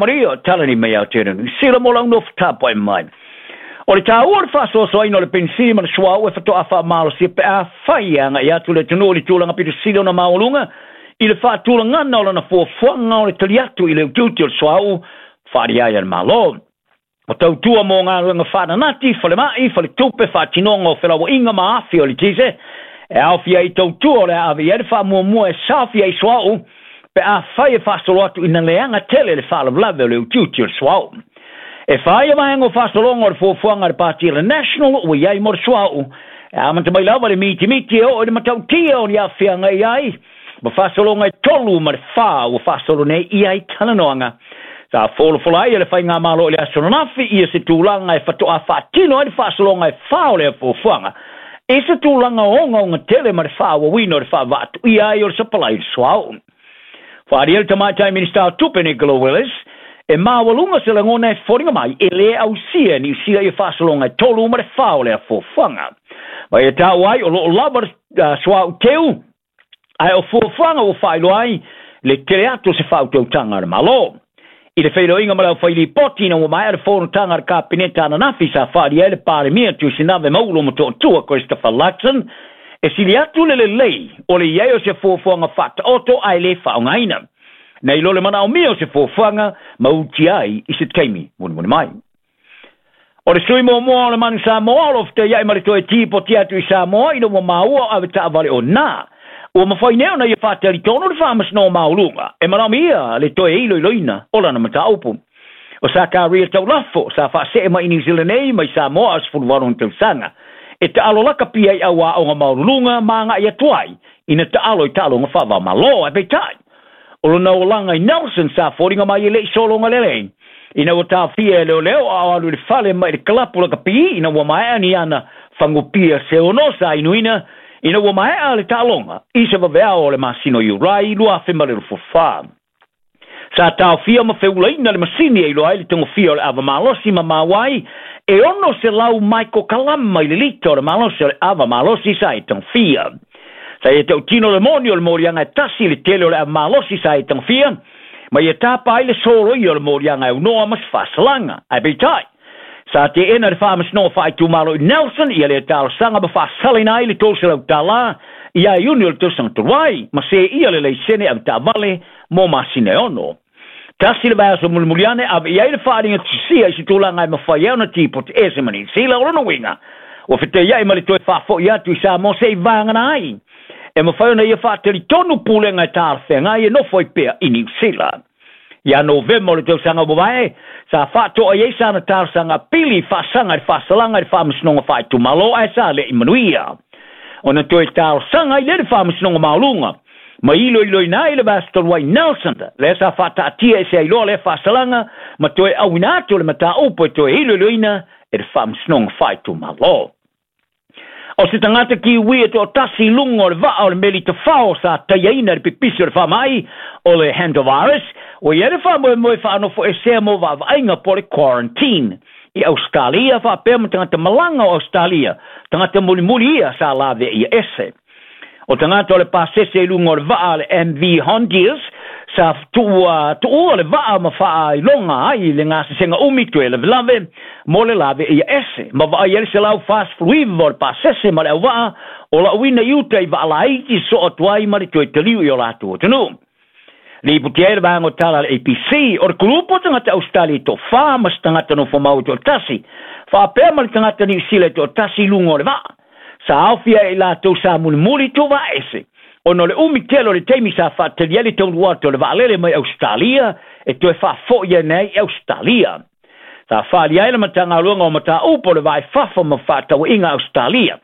Maria, talani mai Aotearoa Niu Sila mo lau nofo tapuai mai. O le taua o le faasoasoaina o le penisini ma le suauu e faatoa faamalosia pe afai e agai atu le atunuu i le tulaga pito sili ona maualuga i le faatulagana o lana fuafuaga o le tali atu i le utiuti o le suauu faaalia ai a le Malo. O tautua mo galuega faananati, falemai, faletupe, faatinoga o felauaiga ma afi o le eletise, e aofia ai tautua o le a ave i ai le faamuamua e saofia ai suauu pe afai e faasolo atu ina leaga tele le faalavelave o le utiuti o le suauu. E fai ia vaega o faasologa o le fuafuaga a le Pati a le National ua i ai mo le suauu, e amata mai lava le mitimiti e oo i le matautia o ni aafiaga i ai, ma faasologa e 3 ma le 4 ua faasolo nei i ai talanoaga. Sa folafola ai e le Faigamalo i le aso ananafi ia se tulaga e faatoa faatino ai le faasologa e 4 o lea fuafuaga, i se tulaga ogaoga tele ma le faaauauina o le faavaatuia ai o le sapalai i le suauu. Faaalia le tamaitai Minisita o Tupe Nicola Willis, e maualuga se lagona e foliga mai e lē ausia e Niu Sila ia faasologa e 3 ma le 4 o lea fuafuaga. Ma ia taua ai o loo lava le suauu teu, ae o fuafuaga ua faailoa ai le tele atu o se faautautaga a le Malo. I le feiloaiga ma le aufailipoti ina ua maea le fonotaga a le Kapeneta ananafi sa faaalia ai le Palemia Tuisinave Maulo Motootua Christopher Luxon, e sili atu le lelei o le i ai o se fuafuaga faataoto ae lē faaaogaina, nei lo le manaomia o se fuafuaga ma utia ai i se taimi mulimuli mai. O le sui muamua o le Manu Samoa o lo o fetaiai ma le toe tipoti atu i Samoa ina ua maua o avetaavale o nā. Ua mafai nei ona ia faatalitonu le Faamasinoga Maualuga e manaomia le toe iloiloina o lana mataupu. O Sakaria Taulafo sa faasee mai i Niu Sila nei mai Samoa a 18 ona tausaga, e taalo lakapi ai au aoga maualuluga ma agai atu ai ina taalo i taaloga faava-o-Malo. Ae peitai, o lona olaga i Nelson sa foliga mai e le i sologa lelei, ina ua taofia e leoleo a o alu i le fale mai le kalapu lakapi ina ua maea ni ana fagupia se ono sa inuina ina ua maea le taaloga i se vaveao o le masina o Iulai 2024. Sa taofia ma feulaina le masini e iloa ai le togofia o le ava malosi ma maua ai e 600 maikokalama i le lita o le malosi o le ava malosi sa e togofia. Sa ia tautino le moni o le moliaga e tasi le tele o le ava malosi sa e togofia, ma ia tapa ai le soloia o le moliaga e aunoa ma se faasalaga. Ae peitai, sa teena le Faamasinoga Faaitumalo i Nelson ia lea talosaga ma faasalaina ai le $300 ia Iuni o le tausaga talu ai, ma seia le laisene avetaavale mo masina e 6. Tasi le vaiaso mulimuli ane ave i ai le faaaliga tusia i se tulaga e mafai ai ona tipoti ese ma Niu Sila. O lona uiga, ua fetaiai ma le toe faafoi atu i Samoa se i vagana ai e mafai ona ia faatalitonu pulega e talafeagai e nofo ai pea i Niu Sila. Ia Novema o le tausaga ua mavae, sa faatoa i ai sana talosaga pili faasaga i le faasalaga i le Faamasinoga Faaitumalo ae sa le i manuia. Ona toe talosaga ai lea i le Faamasinoga Maualuga, ma iloiloina ai le vaiaso talu ai Nelson, lea sa faataatia e se ailoa lea faasalaga ma toe auina atu le mataupu e toe iloiloina e le Faamasinoga Faaitumalo. O se tagata Kiwi e toatasi i luga o le vaa o le meli tafao sa taiaina i le pipisi o le faamai o le hantavirus, ua i ai le faamoemoe faanofoesea mo vaavaaiga po o le quarantine i Ausetalia faapea ma tagata malaga o Ausetalia, tagata mulimuli ia sa laveia ese. O tagata o le pasese i luga o le vaa le MV Hondius sa tuua le vaa ma faailoga ai le gasesega umi toe lavelave mo le laveia ese, ma vaai ai le 149 o le pasese ma le auvaa o lauina i uta i vaalaiti soo atu ai ma le toe taliu i o latou atunuu. Lipotia ai le vaega o tala a le ABC, o le kulupu o tagata Ausetalia e toafa ma se tagata nofomau e toatasi, faapea ma le tagata Niu Sila e toatasi i luga o le vaa. Sa aofia e i latou sa mulimuli tuvaese, ona o le umi tele o le taimi sa faatali ai le taunuu atu o le vaalele mai Ausetalia e toe faafoi ane ai i Ausetalia. Sa faaalia ai le Matagaluega o Mataupu o le Vaa i Fafo ma Faatauaiga Ausetalia.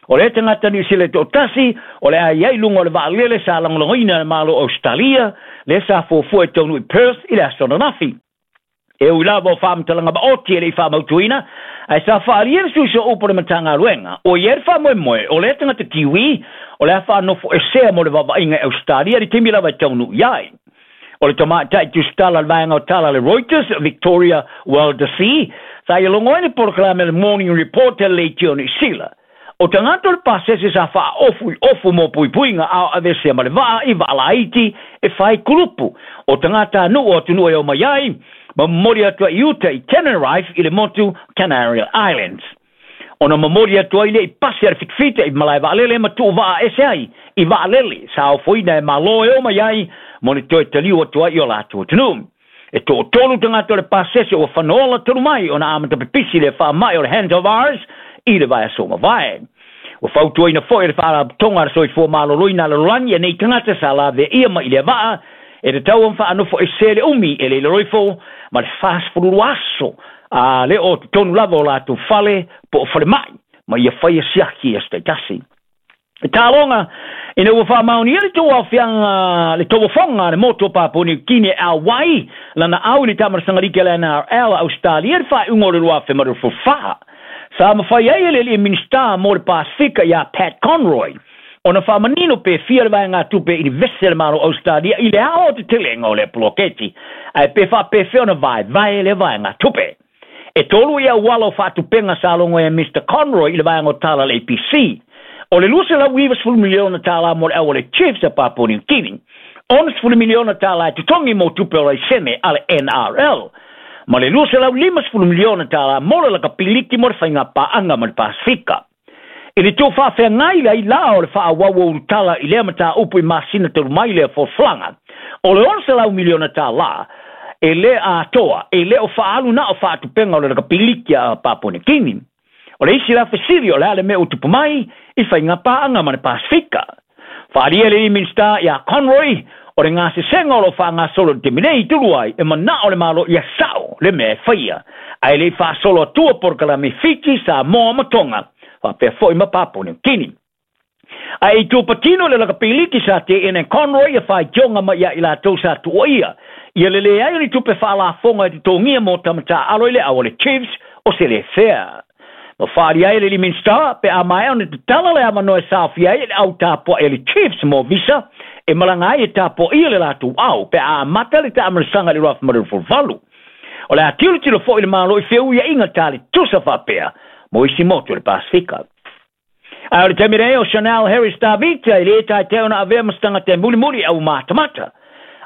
O lea tagata Niu Sila e toatasi o le a i ai i luga o le vaalele sa lagolagoina e le Malo o Ausetalia, lea sa fuafua e taunuu i Perth i le aso ananafi. E ui lava o faamatalaga maoti e le i faamautuina, ae sa faaalia le suisoa upu o le Matagaluega, ua i ai le faamoemoe o lea tagata Kiwi o le a faanofoesea mo le vaavaaiga i Ausetalia i le taimi lava e taunuu i ai. O le tamaitai tusitala le vaega o tala a le Reuters, Victoria Waldasee, sa ia logo ai le polokalame le Morning Report a le leitio Niu Sila. O tagata o le pasese sa faaofu i ofu mo puipuiga a o avesea ma le vaa i vaalaiti e fai kulupu. O tagata anu'u o atunuu e o mai ai, Ma momoli atu ai i uta i Tenerife i le motu Canary Islands. Ona momoli atu ai lea i pasi a le fitafita i malae vaalele ma tuuvaa ese ai i vaalele sa ofoina e Malo e o mai ai mo le toe taliu atu ai i o latou atunuu. E toatolu tagata o le pasese ua fanaola talu mai ona amata pipisi le faamai o le hantavirus i le vaiaso ua mavae. Ua fautuaina foi e le Faalapotopotoga a le Soifua Maloloina a le Lalolagi nei tagata sa laveaia mai i lea vaa e tatau ona faanofo ese le umi e le i lalo ifo ma le 42 aso a le o totonu lava o latou fale po o falemai ma ia faia siaki i aso taitasi. E taloga ina ua faamaonia le tou aofiaga le tauofoga a le motu o Papua Niu Kini e auai lana au i le taamalasaga liki a le NRL a Ausetalia i le faaiuga o le 2024. Sa mafai ai e le alii Minisita mo le Pasefika ia Pat Conroy ona faamanino pe fia le vaegatupe e inivesi a le Malo o Ausetalia i le aoaotetelega o lea poloketi, ae pe faapefea ona vaevae lea vaegatupe. E tolu i auala o faatupega sa logo ai e Mister Conroy i le vaega o tala a le ABC. O le $290 miliona tala mo le au a le Chiefs a Papua New Guinea, $60 miliona tala e totogi mo tupe o laisene a le NRL, ma le $250 miliona tala mo le lakapiliki mo le faiga paaga ma le Pasefika. I le tuufaafeagai ai la o le faaauau o ulutala i lea mataupu i masina talu mai lea folafolaga, o le $600 miliona tala e le atoa, e le o faaalu na o faatupega o le lakapiliki a Papua New Guinea. O le isi la fesili o le a le mea ua tupu mai i faiga paaga ma le Pasefika. Faaalia le Minisita ia Conroy, o le gasesega o lo o faagasolo i le taimi nei i Tuluai e manao le Malo ia sao le mea e faia, ae le i faasolo atua polokalame Fiti, Samoa ma Tonga, faapea foi ma Papua New Guinea. Ae i tua patino le lakapiliki sa teena e Conroy ia faitioga mai ia i latou sa tuuaia ia le leai o ni tupe faalafoga e totogia mo tama taaalo i le au a le Chiefs o se le fea. Ma faaalia ai le alii Minisita pe a maea ona tatala le avanoa e saofia ai le au tapuai a le Chiefs mo visa e malaga ai e tapuaia le latou au pe a amata le taamalasaga i le 2028. O le a tilotilo foi le Malo i feuiaiga ta le tusa faapea mo isi motu o le Pasefika. Ae o le taimi nei o Chanel Harris Tavita e le taetae ona avea ma se tagata e mulimuli au matamata.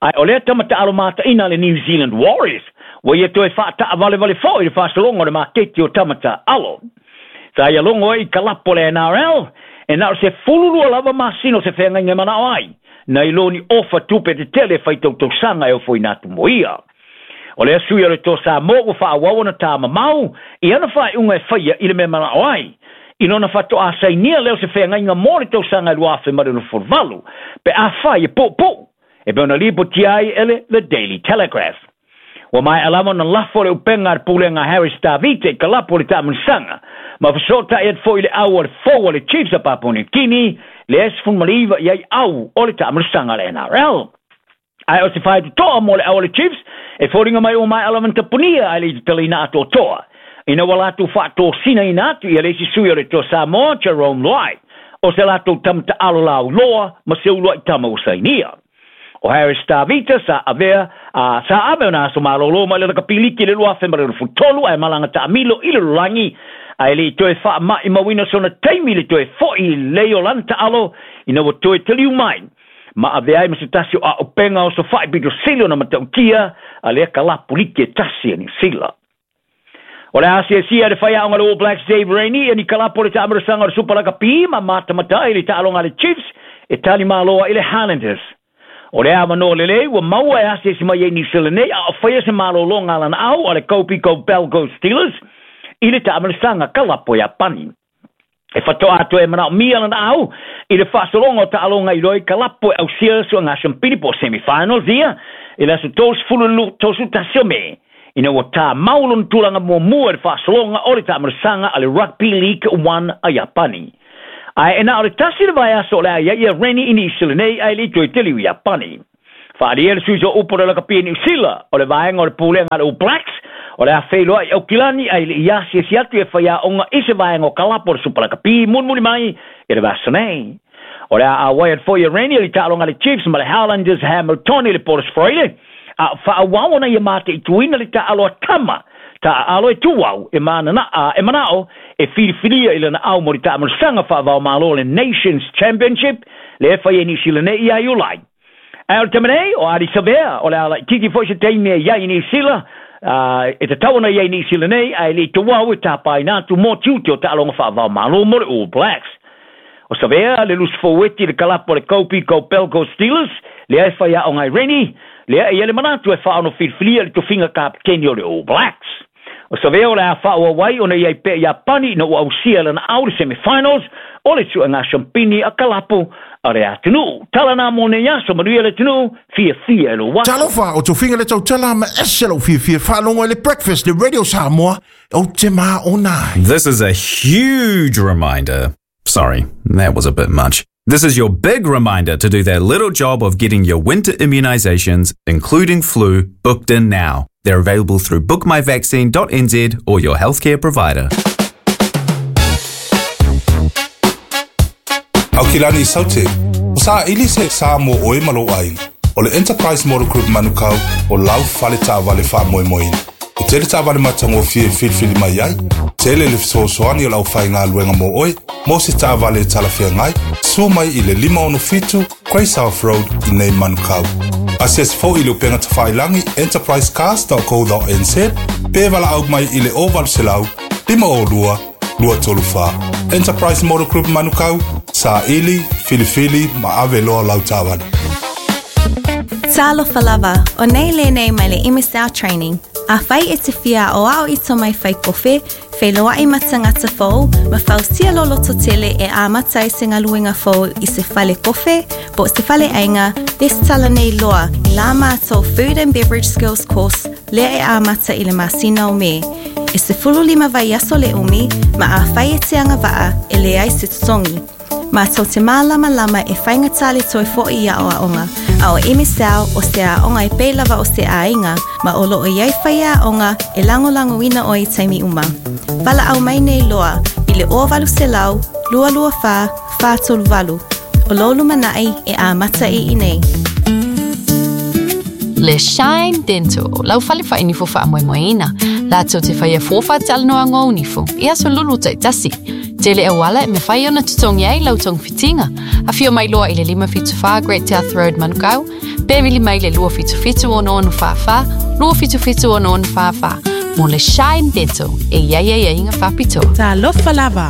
Ae o lea tama taalo mataina a le New Zealand Warriors ua ia toe faataavalevale foi i le faasologa o le maketi o tama taaalo. Sa ia logo ai i kalapo o le NRL e na o se 12 lava masina o se feagaiga e manao ai, nai lo ni ofa tupe tetele e fai tautausaga e ofoina atu mo ia. O lea sui o le Toa Samoa ua faaauau ona tamamau i ana faaiuga e faia i le mea manao ai, i lona faatoa sainia lea o se feagaiga mo le tausaga e 2028, pe afai e puupuu, e pei ona lipotia ai e le The Daily Telegraph. Ua maea lava ona lafo le upega a le pulega Harris Tavita i kalapu o le taamalasaga, ma fesootai atu foi i le au a le fou a le Chiefs a Papua New Guinea, le 19 i ai au o le taamalasaga a le NRL. Ae o se faitotoa mo le au a le Chiefs, e foliga mai ua maea lava ona tapunia ae le i tatalaina atoatoa, ina ua latou faatosinaina atu ia le isi sui o le Toa Samoa, Jerome Luai, o se latou tama taalo lauloa ma se uluai tama ua sainia. O Harris Tavita sa avea a sa ave ona aso malolo mai le lakapiliki i le 2023 ae malaga taamilo i le lalolagi, ae le i toe faamaimauina sona taimi i le toe foi i lei o lana taalo ina ua toe taliu mai ma avea ai ma se tasi o aopenga o sofai pito sili ona matautia a lea kalapu liki e tasi a Niu Sila. O le asiasia e le faiaoga le All Blacks Dave Rennie e ni kalapu o le taamalasaga o le Super Lakapi ma matamata ai le taaloga a le Chiefs e tali malo ai le Highlanders. O le avanoa lelei ua maua e asiasi mai ai Niu Sila nei a o faia se malologa a lana au a le Kobe Go Belgo Steelers i le taamalasaga kalapu a Iapani. E fatoa atu e manaomia lana au i le faasologa o taaloga i loa i kalapu e ausia suaga sampili po o semifinals ia i le aso 31 o Me, ina ua tāmau lona tulaga muamua i le faasologa o le taamalasaga a le Rugby League One a Iapani. Ae e na o le tasi le vaiaso o le a i ai ia Rennie i Niu Sila nei ae le i toe teliu i Iapani. Faaalia le sui o upu o le lakapi i Niu Sila o le vaega o le pulega a le All Blacks o le a feiloai i Aukilani ae le i asiasi atu e faiaoga i se vaega o kalapu o le Supa Lakapi mulimuli mai i le vaiaso nei. O le a auai atu foi e Rennie i le taaloga a le Chiefs ma le Highlanders Hamilton i le Port Australia, a o faaauau ona ia mataituina le taaalo a tama taaalo e tuau e mananaa e manao e filifilia i lana au mo le taamalasaga faavaomalo le Nations Championship le e fai e Niu Sila nei ia Iulai. Ae o le taimi nei, o Ardie Savea, o le a laitiiti foi se taimi e i ai i Niu Sila, E tatau ona i ai Niu Sila nei, ae le i tauau e tapaina atu mo tiute o taaloga faava-o-Malo mo le All Blacks. O Savea le lusi foueti i le kalapu a le Kopi Kobelco Steelers, lea e faiaoga ai Rennie, lea e i ai le manatu e faaono filifilia i le tofiga kapeteni o le All Blacks. O Savea o le a faaauau ai ona i ai pea i Iapani ina ua ausia e lana au le semi-finals o le suega siampini a kalapu a le atunuu. Tala na mo nei aso, manuia le atunuu, fiafia i lou aso. Talofa, o tofiga le tautala ma ese lou fiafia faalogo i le Breakfast le Radio Samoa, ou te maona ai. This is a huge reminder. Sorry, that was a bit much. This is your big reminder to do that little job of getting your winter immunizations, including flu, booked in now. They're available through bookmyvaccine.nz or your healthcare provider. Aukilani Saute, o saili se sa mo oe ma lou aiga. O le Enterprise Motor Group Manukau o lau fale taavale faamoemoeina. E tele taavale matagofie e filifili mai ai, tele le fesoasoani o le aufaigaluega mo oe, mo se taavale e talafeagai, susu mai i le 567 Grey South Road i nei Manukau. Asiasi foi i le upega tafailagi enterprisecars.co.nz pe valaau mai i le 0800 502 234. Enterprise Motor Group Manukau, saili, filifili ma ave loa lau taavale. Talofa lava, o nei lenei mai le MSL Training. Afai e te fia aoao i tomai fai kofe, feiloai ma tagata fou, ma fausia lou loto tele e amata ai se galuega fou i se fale kofe, po o se fale aiga, resitala nei loa i la matou Food and Beverage Skills Course lea e amata i le masina o Me. E 15 vaiaso le umi, ma afai e te agavaa, e leai se totogi. Matou te mālamalama e faigata le toe foʻi i aoaoga, a o MSL o se aoga e pei lava o se aiga, ma o lo o i ai faiaoga e lagolagoina oe i taimi uma. Valaau mai nei loa i le 0800 224 438. O lou lumanai e amata i inei. Le Shine Dental, lau fale faainifo faamoemoeina. Latou te faia fua faatalanoaga o nifo i aso lulu taitasi. Tele auala e mafai ona totogi ai lau togafitiga. Afio mai loa i le 574 Great South Road Manukau, pe vili mai le 277 6644, 277 6644 mo le Shine Dental e i ai aiaiga faapitoa. Talofa lava.